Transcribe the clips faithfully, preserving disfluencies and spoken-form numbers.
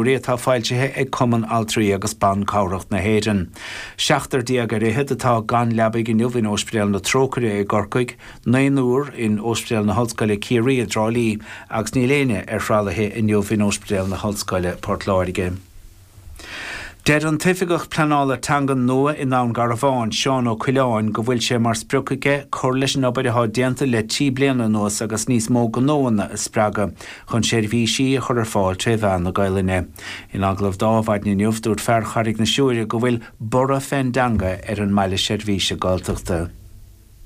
atá foilsithe ag Cumann Altraí agus Ban Cabhrach na hÉireann. Seachtar déag ar fhichead atá gan leabaidh inniu in Ospidéal na Trócaire i gCorcaigh, naonúr in Ospidéal na hOllscoile Ciarraí i dTrá Lí agus níl éinne ar thralaithe inniu in Ospidéal na hOllscoile Port Láirge. Deir an tOifigeach Pleanála Teanga nua i nDún Garbhán, Seán Ó Coileáin, go bhfuil sé mar sprioc aige cur leis an obair atá déanta le trí bliana anuas agus níos mó gnóanna a spreagadh chun seirbhísí a chur ar fáil tré mheán na Gaelainne. In agallamh dó ar maidin inniu, dúirt fear Charraig na Siúire go bhfuil borradh fén dteanga ar an mbaile seirbhíse Gaeltachta.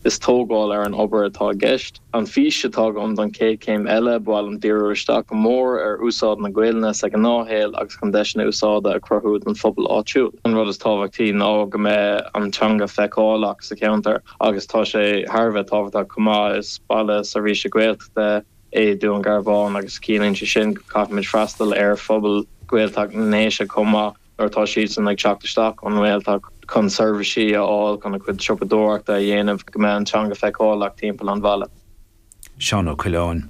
Is tógáil ar an obair atá i gceist. An fís atá agam don chéad chéim eile, ba mhaith liom díriú isteach go mór ar úsáid na Gaelainne sa ghnáthshaol agus chun deiseanna úsáide a chruthú don phobal áitiúil. An rud is tábhachtaí ná go mbeidh an teanga feiceálach sa cheantar agus tá sé thar a bheith tábhachtach chomh maith. Is baile seirbhíse Gaeltachta é Dún Garbhán agus ciallaíonn sé sin go gcaithfimid freastal ar phobal Gaeltacht na nDéise chomh maith nuair atá siadsan ag teacht isteach ón nGaeltacht chun seirbhísí a fháil, chun a gcuid siopadóireachta a dhéanamh, go mbeidh an teanga feiceálach timpeall an bhaile. Seán Ó Coileáin.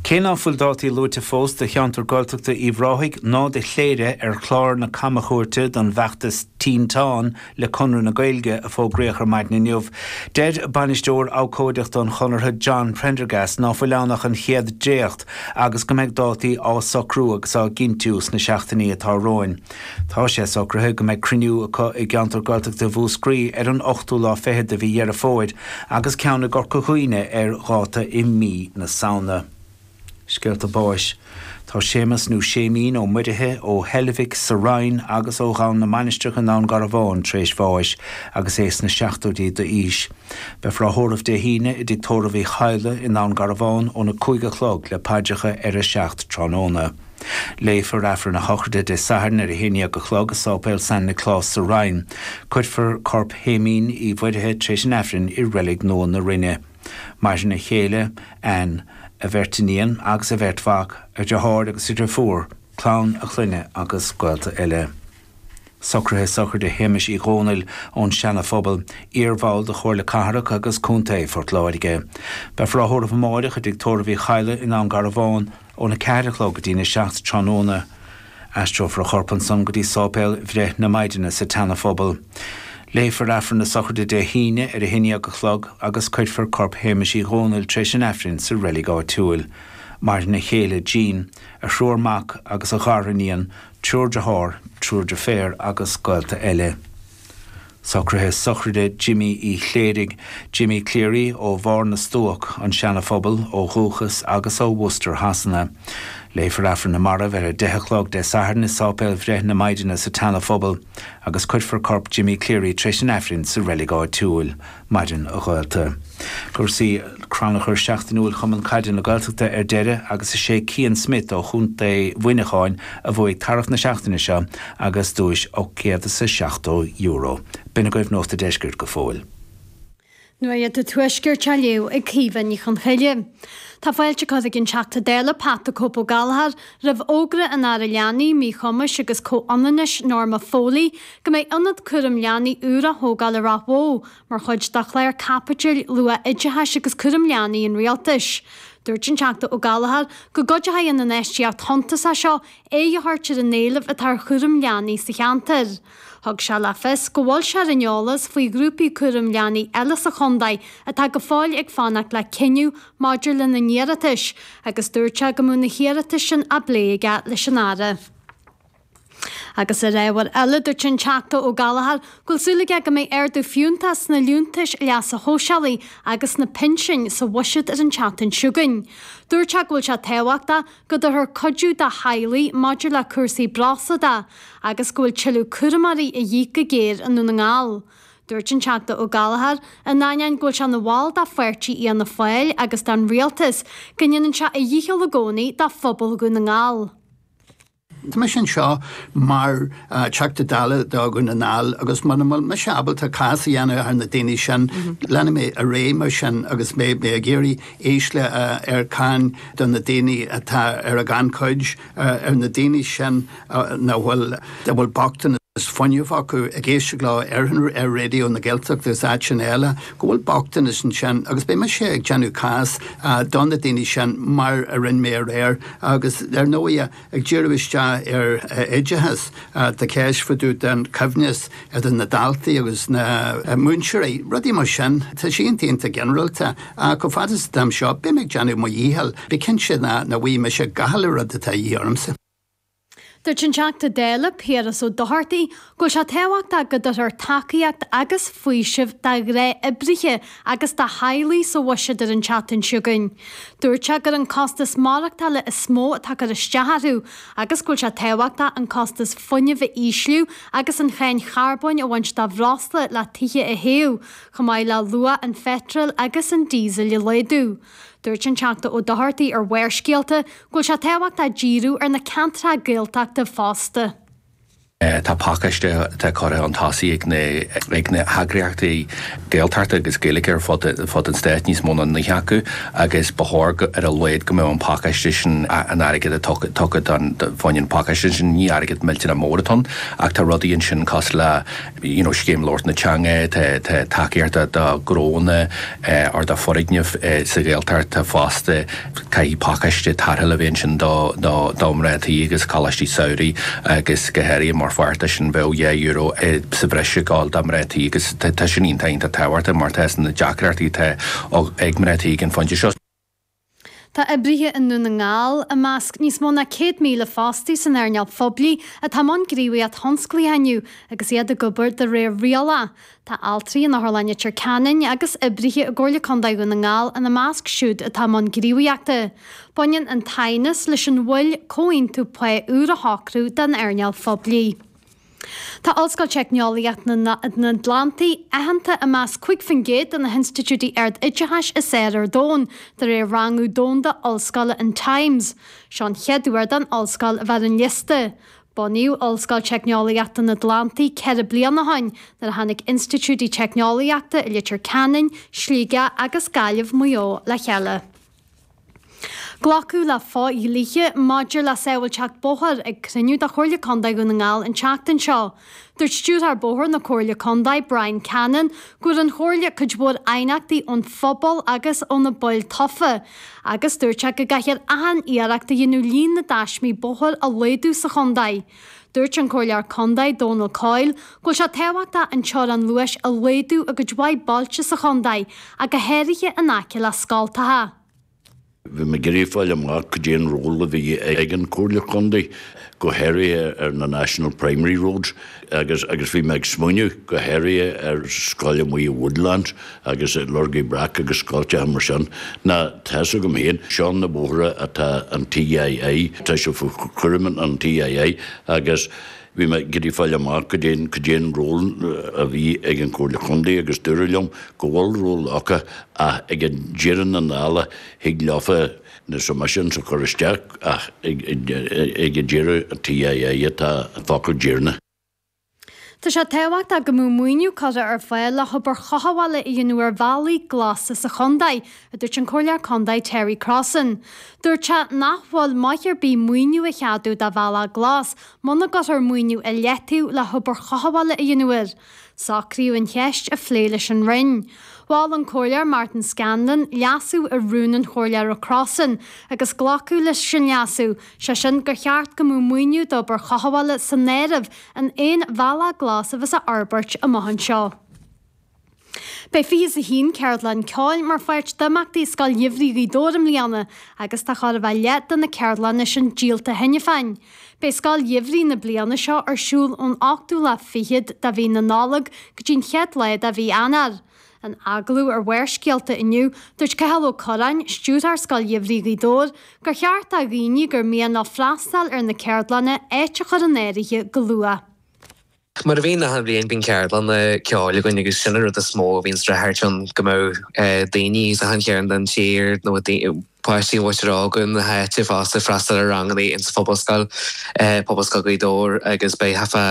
Cé ná fuil dátaí luaite fós do cheantar Gaeltachta Uíbh Ráthaigh ná do Chléire ar chlár na camchuairte don bhfeachtas Tinteán le Conradh na Gaeilge a fógraíodh ar maidin inniu, deir bainisteoir abhcóideachta an Chonartha John Prendergast ná fuil ann ach an chéad dréacht agus go mbeidh dátaí á socrú agus á gcinntiú sna seachtainí atá romhainn. Tá sé socraithe go mbeidh cruinniú acu i gceantar Gaeltachta Mhúscraí ar an ochtú lá fichead de mhí Dheireadh Fómhair agus ceann i gCorca Dhuibhne ar dháta i mí na Samhna. Scéalta báis. Tá Séamus nó Séimín Ó Muirithe ó Heilbhic sa Rinn agus ó Dhomhan na Mainistreach i nDún Garbhán tar éis bháis agus é sna seachtóidí d'aois. Beifear á thórramh Dé hAoine i dTigh Tórraimh Uí Chadhla i nDún Garbhán óna cúig a chlog le paidreacha ar a seacht tráthnóna. Léifear Aifreann a shochraide Dé Sathairn ar a haon dhéag a chlog i Sáipéal San Nioclás sa Rinn. Cuirfear corp Shéimín Uí Mhuirithe tar éis an Aifrinn i Reilig Nua na Rinne. Maireann a chéile, Ann, a bheirt iníon agus a bheirt mhac, a dheartháir agus a dheirfiúr, clann a chlainne agus gaolta eile. Socruithe sochraide Shéamais Uí Dhónaill ón Seana-Phobal, iarbhall de Chomhairle Cathrach agus Contae Phort Láirge. Beifear á thórramh amáireach i dTigh Tórraimh Uí Chadhla i nDún Garbhán óna ceathair a chlog go dtína seacht tráthnóna. Aistreofar a chorp ansan go dtí Sáipéal Bhreith na Maighdine sa tSeana-Phobal. Léifear Aifreann na sochraide Dé hAoine ar a haon dhéag a chlog agus cuirfear corp Shéamais Uí Dhónaill tar éis an Aifrinn sa reilig áitiúil. Maireann a chéile, Jean, a thriúr mac agus a ghariníon, triúr dearthár, triúr deirféar agus gaolta eile. Socruithe sochraide Jimí Uí Chléirigh, Jimmy Cleary ó Bharr na Stuac, an Seana-Phobal, ó dhúchas agus ó Worcester Shasana. Léifear Aifreann na Marbh ar a deich a chlog Dé Sathairn i Sáipéal Bhreith na Maighdine sa tSeana-Phobal agus cuirfear corp Jimmy Cleary tar éis an Aifrinn sa reilig áitiúil. Maireann a ghaolta. Cúrsaí Crannchur seachtainiúil Chumann Caide na Gaeltachta ar deireadh agus is é Cian Smith ó Chontae Mhuineacháin a bhuaigh tarbh na seachtaine seo agus duais ocht gcéad is a seachtó euro. B'in agaibh Nuacht a' Deiscirt go fóill. Nuacht an Tuaiscirt á léamh ag Caoimhe Ní Chonchoille. Tá fáilte curtha ag an Teachta Dála Pat the Cope Ó Gallchóir roimh fhógra an Aire Leanaí, Míchumais agus Comhionannais Norma Foley go mbeidh ionad cúraim leanaí úr á thógáil i Ráth Bhoth mar chuid de chlár caipitil luath-oideachais agus cúraim leanaí an Rialtais. Dúirt an Teachta Ó Gallchóir go gcuideoidh an infheistíocht shuntasach seo aghaidh a thabhairt ar an éileamh atá ar chúram leanaí sa cheantar. Thug sé le fios go bhfuil sé ar an eolas faoi ghrúpaí cúraim leanaí eile sa chontae atá go fóill ag fanacht le cinneadh maidir lena n-iarratais agus dúirt sé go mbeadh na hiarratais sin á bplé aige leis an Aire. Agus ar ábhar eile, dúirt an Teachta Ó Gallchóir go bhfuil súil aige go mbeidh ardú fiúntach sna liúntais leasa shóisialaigh agus sna pinsin sa bhuiséad ar an tseachtain seo chugainn. Dúirt sé go bhfuil sé tábhachtach go dtabharfar cuidiú do theaghlaigh maidir le cúrsaí breosla de agus go bhfuil tuilleadh cúramóirí a dhíth go géar i nDún na nGall. Dúirt an Teachta Ó Gallchóir, in ainneoin go bhfuil sé ina bhall de pháirtí Fhianna Fáil agus den Rialtas, go ndéanann sé a dhícheall i gcónaí do phobal Dhún na nGall. Tá mise anseo mar Teachta Dála do Dhún na nGall agus muna bhfuil mise ábalta cás a dhéanamh ar na daoine sin, leanfaidh mé ar aghaidh mar sin agus mé ag iarraidh ísliú ar cháin do na daoine atá ar an ghannchuid, ar na daoine sin nach bhfuil, a bhfuil bochtanas. is fuinneamh acu ag éisteacht leo ar ar Raidió na Gaeltachta agus áiteanna eile go bhfuil bochtanas ansin agus beidh mise ag déanamh cás do na daoine sin mar a rinne mé aréir agus ar ndóigh ag díriú isteach ar oideachas tá ceist fá dtaobh den choibhneas idir na daltaí agus na múinteoirí rudaí mar sin tá sé iontach ginearálta chomh fada is atáim seo beidh mé ag déanamh mo dhícheall bí cinnte ná na bhfuil mise gach uile rud atá de dhíth ormsa. Dúirt an Teachta Dála Piaras Ó Dochartaigh go bhfuil sé tábhachtach go dtabharfar tacaíocht agus faoiseamh do ghnáthoibrithe agus do theaghlaigh sa bhuiséad ar an tseachtain seo chugainn. Dúirt sé gur an costas maireachtála is mó atá ag cur isteach orthu agus go bhfuil sé tábhachtach an costas fuinnimh a ísliú agus an cháin charbóin a bhaint de bhreosla le tithe a théamh, chomh maith le luach an pheitril agus an díosail a laghdú. Dúirt an Teachta Ó Dochartaigh ar Bharrscéalta go bhfuil sé tábhachtach díriú ar na ceantracha Gaeltachta fosta. Tá pacáiste atá curtha chun tosaigh ag na ag na heagraíochtaí Gaeltachta agus Gaeilge ar fud fud an stáit níos mó ná naoi acu agus ba chóir ar a laghad go mbeadh an pacáiste sin an airgead a tugtha don bhain an pacáiste sin ní airgead millteanach mór atá ann ach tá rudaí ansin cosúil le you know, scéim labhairt na teanga tá tacaíocht do ghnónna ar do fhoirgnimh sa Ghaeltacht fosta caithfidh pacáiste tarrthála a bheith ansin do do do mná tí agus coláistí samhraidh agus go háirithe mar pháirt sin bheadh dhá euro sa bhreis ag gabháil do mná tí agus tá sin iontach iontach tábhachtach mar tá na deacrachtaí atá ag mná tí ag an phointe seo. Tá oibrithe i nDún na nGall i measc níos mó ná céad míle fostaí san earnáil phoiblí atá i mbun gníomhaíocht thionsclaíoch inniu agus iad ag obair de réir riail. Tá altraí in Otharlann Leitir Ceanainn agus oibrithe i gComhairle Contae Dhún na nGall ina measc siúd atá i mbun gníomhaíochta. Baineann an t-aighneas leis an mhoill comhaontú pá úr a shocrú don earnáil phoiblí. Tá Ollscoil Teicneolaíocht na nAtlantaí aitheanta i measc cúig faoin gcéad de na hinstitiúidí ard-oideachais is fearr ar domhan, de réir rangú domhanda ollscoile an Times. Seo an chéad uair don ollscoil a bheith ar an liosta. Bunaíodh Ollscoil Teicneolaíochta na nAtlantaí ceithre bliana ó shin nuair a tháinig institiúidí teicneolaíochta i Leitir Ceanainn, Sligeach agus Gaillimh Maigh Eo le chéile. Glacadh le fo-dhlíthe maidir le sábháilteacht bóthair ag cruinniú de Chomhairle Contae Dhún na nGall an tseachtain seo. Dúirt Stiúrthóir Bóthair na Comhairle Contae Brian Cannon go bhfuair an Chomhairle cuid mhór aighneachtaí ón phobal agus ó na baill tofa, agus dúirt sé go gcaithfear achan iarracht a dhéanamh líon na dtaismí bóthair a laghdú sa chontae. Dúirt an Comhairleoir Contae Donal Coyle go bhfuil sé tábhachtach an teorainn luais a laghdú i gcuid mhaith bailte sa chontae, ach go háirithe in aice le scoltacha. Bhí mé ag iarraidh fáil amach cad é an ról a bhí ag an Comhairle Contae go háirithe ar na National Primary Roads agus agus bhí mé ag smaoineamh go háirithe ar scoil amuigh i Woodlands agus i Lorgaí Breac agus scoilteacha mar sin. Ná tá a fhios agam féin seo na bóithre atá an TII, tá sé faoi chúram an TII agus bhí mé ag iarraidh fáil amach cad é cad é an ról a bhí ag an Comhairle Contae agus dúradh liom go bhfuil ról acu ach ag an deireadh na dála thig leofa na submissions a chur isteach ach ag ag an deireadh an TII atá an focal deireanach. Tá sé tábhachtach go mbeadh maoiniú curtha ar fáil le hobair chothabhála a dhéanamh ar bhealaí glasa sa chontae, a dúirt an Comhairleoir Contae Terry Crossan. Dúirt sé nach bhfuil maith ar bith maoiniú a cheadú do bhealach glas muna gcuirfear maoiniú i leataobh le hobair chothabhála a dhéanamh air. Socraíodh an cheist a phlé leis an Roinn. Mhol an Comhairleoir Martin Scanlon leasú ar rún an Chomhairleora Crossan agus glacadh leis sin leasú, sé sin gur cheart go mbeadh maoiniú d'obair chothabhála san áireamh in aon bhealach glas a bheas á fhorbairt amach anseo. Beidh fiche a haon ceardlann ceoil mar pháirt d'imeachtaí Scoil Gheimhridh Ghaoth Dobhair i mbliana agus tá chóir a bheith leath de na ceardlanna sin díolta cheana féin. Beidh Scoil Gheimhridh na bliana seo ar siúl ón ochtú lá fichead de mhí na Nollag go dtí an chéad lá de mhí Eanáir. In agallamh ar Bharrscéalta inniu, dúirt Cathal Ó Curráin, stiúrthóir Scoil Gheimhridh Ghaoth Dobhair, gur cheart do dhaoine gur mian leo freastal ar na ceardlanna áit a chur in áirithe go luath. Mar a bhíonn achan bhliain bíonn ceardlanna ceoil againn agus sin an rud is mó a bhíonn thart ann go mbeadh daoine as achan chearn den tír nó páistí mhuintir óga na háite fosta freastal ar ranganna insa phobalscoil, Pobalscoil Ghaoth Dobhair agus beidh thart fá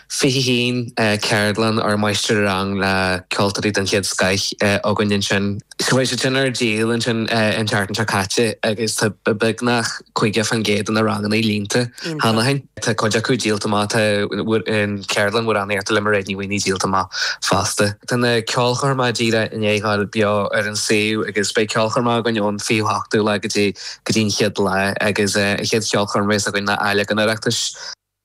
fiche haon ceardlann ar máistir-rang le ceoltóirí den chéad scoth againn ansin. So beidh siad sin ar díol ansin an tseachtain seo caite agus tá beagnach caoga faoin gcéad de na ranganna líonta cheana féin. Tá cuid acu díolta amach, tá an ceardlann amhránaíochta le Mairéad Ní Mhaonaigh díolta amach fosta. Tá na ceolchoirmeacha díreach i ndiaidh a ghabháil beo ar an suíomh agus beidh ceolchoirmeacha againn ón fichiú hochtú lá go dtí go dtí an chéad lá agus an chéad cheolchoirm a bheas againn ná Athleagan Oireachtais.